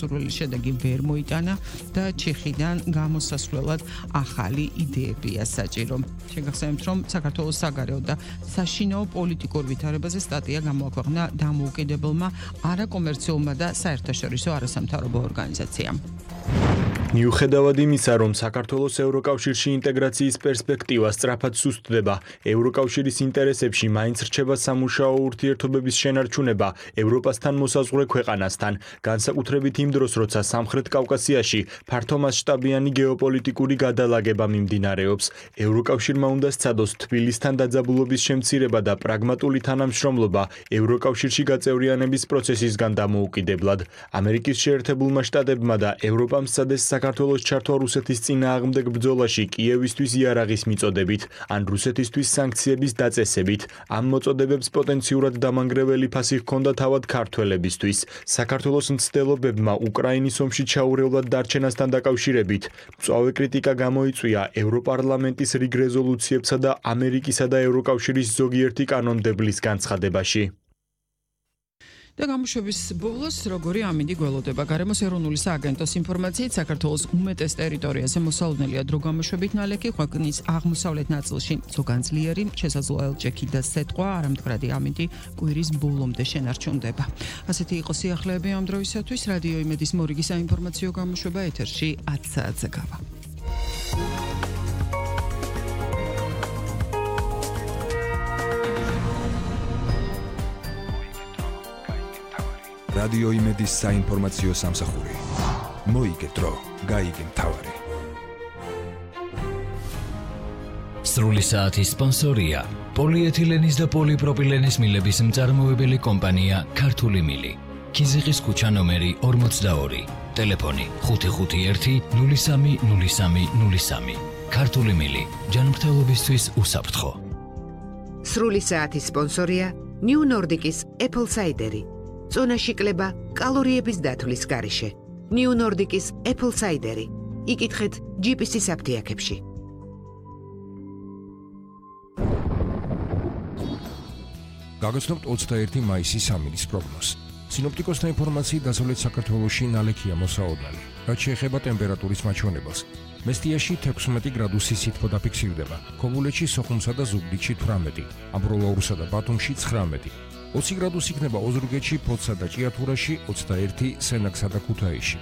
სასურველი შედეგი ვერ მოიტანა და ჩეხიდან გამოსასვლელად ახალი იდეებია საჭირო. შეგახსენებთ, რომ საქართველოს საგარეო და საშინაო პოლიტიკურ ვითარებაზე სტატია გამოაქვეყნა დამოუკიდებელმა არაკომერციულმა და საერთაშორისო არასამთავრობო ორგანიზაციამ. მიუხედავად იმისა, რომ საქართველოს ევროკავშირში ინტეგრაციის პერსპექტივა სწრაფად სუსტდება, ევროკავშირის ინტერესებში მაინც რჩება სამუშაო ურთიერთობების შენარჩუნება ევროპასთან მოსაზღვრე ქვეყანასთან, განსაკუთრებით იმ დროს, როცა სამხრეთ კავკასიაში ფართომასშტაბიანი გეოპოლიტიკური გადალაგება მიმდინარეობს. ევროკავშირმა უნდა სცადოს თბილისთან დაძაბულობის შემცირება და პრაგმატული თანამშრომლობა ევროკავშირში გაწევრიანების პროცესისგან დამოუკიდებლად. ამერიკის შეერთებულმა შტატებმა და ევროპამ სცადეს საქართველოს ჩართვა რუსეთის წინააღმდეგ ბრძოლაში კიევისთვის იარაღის მიწოდებით ან რუსეთისთვის სანქციების დაწესებით. ამ მოწოდებებს პოტენციურად დამანგრეველი ფასი ჰქონდა თავად ქართველებისთვის. საქართველოს მცდელობებმა უკრაინის ომში ჩაურევლად დარჩენასთან დაკავშირებით მწვავე კრიტიკა გამოიწვია ევროპარლამენტის რიგ რეზოლუციებსა და ამერიკისა და ევროკავშირის ზოგიერთი კანონმდებლის განცხადებაში. და გამოშვების ბოლოს როგორი ამინდი გველოდება. გარემოს ეროვნული სააგენტოს ინფორმაციით საქართველოს უმეტეს ტერიტორიაზე მოსალოდნელია დრო გამოშვებით ნალექი, ქვეყნის აღმოსავლეთ ნაწილში ზოგანძლიერი, შესაძლოა ელჭექი და სეტყვა, არამდგრადი ამინდი კვირის ბოლომდე შენარჩუნდება. ასეთი იყო სიახლეები ამ დროისათვის. რადიო იმედის მორიგი საინფორმაციო გამოშვება ეთერში 10 საათზე გავა. რადიო იმედის საინფორმაციო სამსახური. მოიგე დრო, გაიგე მთავარი. სრული საათის სპონსორია პოლიეთილენის და პოლიპროპილენის მილების მწარმოებელი კომპანია ქართული მილი. ქიზიყის ქუჩა ნომერი 42. ტელეფონი 551-030303. ქართული მილი. ჯანმრთელობისთვის უსაფრთხო. სრული საათის სპონსორია New Nordic-ის Apple Cider-ი. წონაში კლება კალორიების დათვლის გარეშე. New Nordic-ის Apple Cider-ი. იკითხეთ GPS-ის აფთიაქებში. გაგაცნობთ 21 მაისის სამინის პროგნოზს. სინოპტიკოსთა ინფორმაციით დასავლეთ საქართველოში ნალექია მოსაოდნელი. რაც შეეხება ტემპერატურის მაჩვენებელს. მესტიაში 16 გრადუსი სითბო დაფიქსირდება. ქობულეთში, სოხუმსა და ზუგდიდში 18, ამბროლაურსა და ბათუმში 19. 20 გრადუსი იქნება ოზურგეთში, ფოთსა და ჭიათურაში, 21 სენაკსა და ქუთაისში.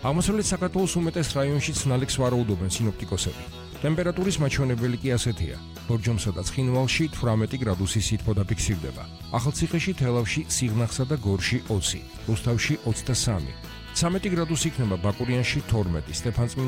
აღმოსავლეთ საქართველოს უმეტეს რაიონშიც ნალექს ვარაუდობენ სინოპტიკოსები. ტემპერატურის მაჩვენებელი კი ასეთია. ბორჯომსა და ცხინვალში 18 გრადუსი სითბო დაფიქსირდება. ახალციხეში, თელავში, სიღნაღსა და გორში 20, რუსთავში 23. 13 გრადუსი იქნება ბაკურიანში 12, სტეფანწმინდაში